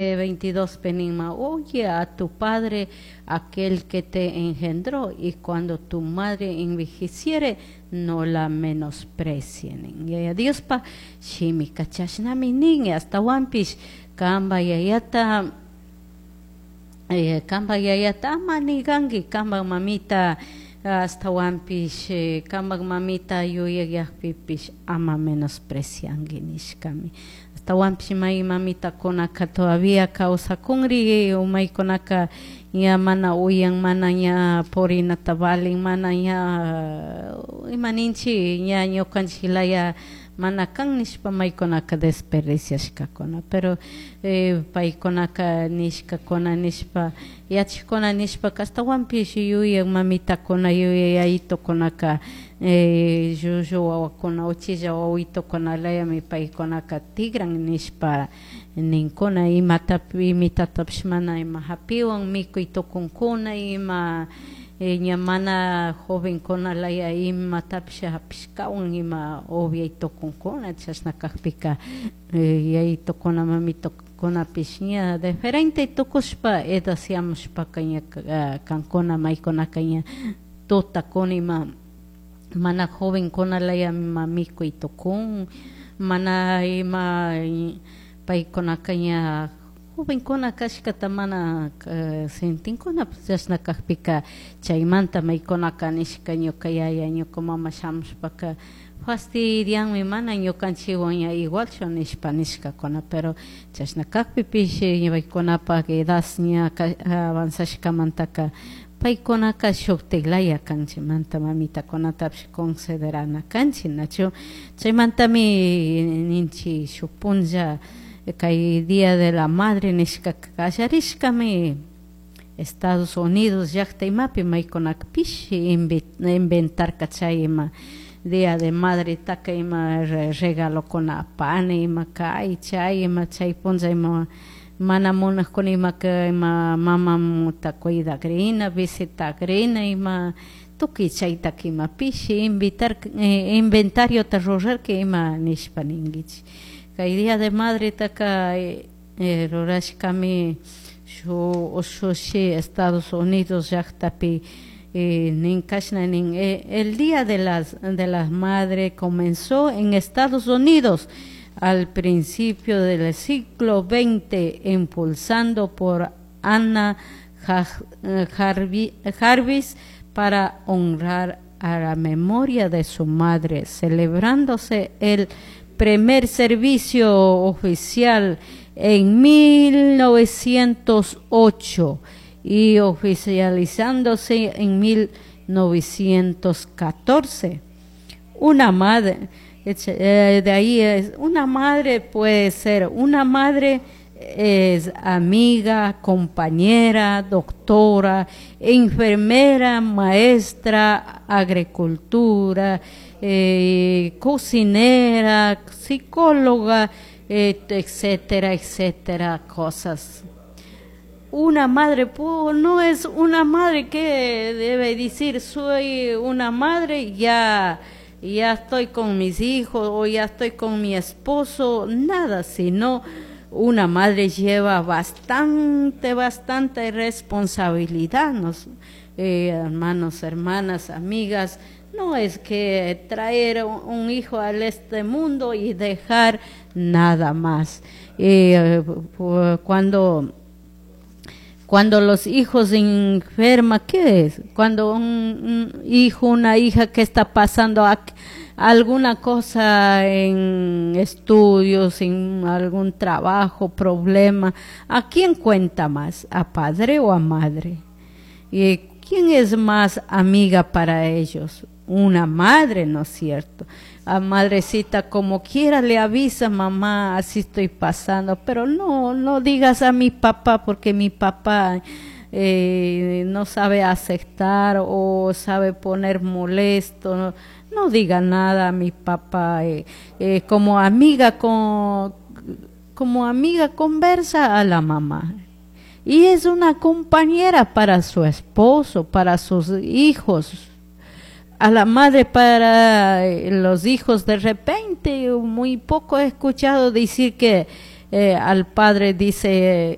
22 penima, oye a tu padre, aquel que te engendró, y cuando tu madre envejeciere, no la menosprecien. Yaya Diospa shimika chashnami nin, ashtawanpish kamba yayata kamba yayata ama niganki, kamba mamita ashtawanpish kamba mamita yuyayakpipish ama menosprecianki nishkami. Ashtawanpish may mamitakunaka todavía kawsakunri, maykunaka ña mana uyan, mana ña purinata valin, mana ña ima ninchik ña ñukanchik laya mana kan nishpa maykunaka desperdiciashkakuna, pero paykunaka nishkakuna nishpa yachakuna nishpaka ashtawanpish yuyak mamitakuna, yuyak yayitukunaka llullu wawakuna, uchilla wawitukuna layami paykunaka tigran nishpa ninkuna, imatapi imitatapish mana ima hapiwan mikuy tukunkuna, ima ña mana jovenkuna laya imatapish hapishkawan ima upiay tukunkuna, chashna kakpika yayitukuna mamitukunapish ña diferente tukushpa edasiamushpaka ña kankuna maykunaka ña tutakuna ima mana jovenkuna laya ima mikuy tukun, mana ima paykunaka ña jovenkuna kashkata mana sentinkuna, chashna kakpika chaymanta maykunaka nishka ñuka yaya ñuka mama shamushpaka fastidianmi mana ñukanchikwan ña igualchu nishpa nishkakuna, pero chashna kakpipish paykunapak edad ña avanzashkamantaka paykunaka shuktik laya kan, chaymanta mamitakunatapish considerana kanchik, nachu chaymantami ninchik shuk punlla kay Día de la Madre nishka kallarishkami Estados Unidos llakta imapi maykunaka pishi inventarka chay ima Día de Madre taka ima regalokuna apani ima kay chay ima chay punlla ima mana munakuna imaka ima mamamuta cuidakrina visitakrina ima tukuy chaytaka ima pishi invitar inventariota rurarka ima nishpa ninkichik. Kay Día de Madre taka rurashkami shuk ushushi Estados Unidos llaktapi nin kashna nin el Día de las Madre comenzó en Estados Unidos al principio del siglo XX, impulsando por Anna Jarvis para honrar a la memoria de su madre, celebrándose el primer servicio oficial en 1908 y oficializándose en 1914. Una madre, de ahí es, una madre puede ser, una madre es amiga, compañera, doctora, enfermera, maestra, agricultura, cocinera, psicóloga, etcétera, etcétera, cosas. Una madre no es una madre que debe decir soy una madre, ya, ya estoy con mis hijos o ya estoy con mi esposo, nada, sino una madre lleva bastante, bastante responsabilidad, hermanos, hermanas, amigas. No es que traer un hijo a este mundo y dejar nada más. Cuando los hijos enferman, ¿qué es? Cuando un hijo, una hija que está pasando alguna cosa en estudios, en algún trabajo, problema, ¿a quién cuenta más? ¿A padre o a madre? ¿Y quién es más amiga para ellos? Una madre, ¿no es cierto? A madrecita como quiera le avisa, mamá, así estoy pasando, pero no, no digas a mi papá porque mi papá no sabe aceptar o sabe poner molesto, no, no diga nada a mi papá, como amiga conversa a la mamá. Y es una compañera para su esposo, para sus hijos. A la madre para los hijos de repente, muy poco he escuchado decir que eh, al padre dice.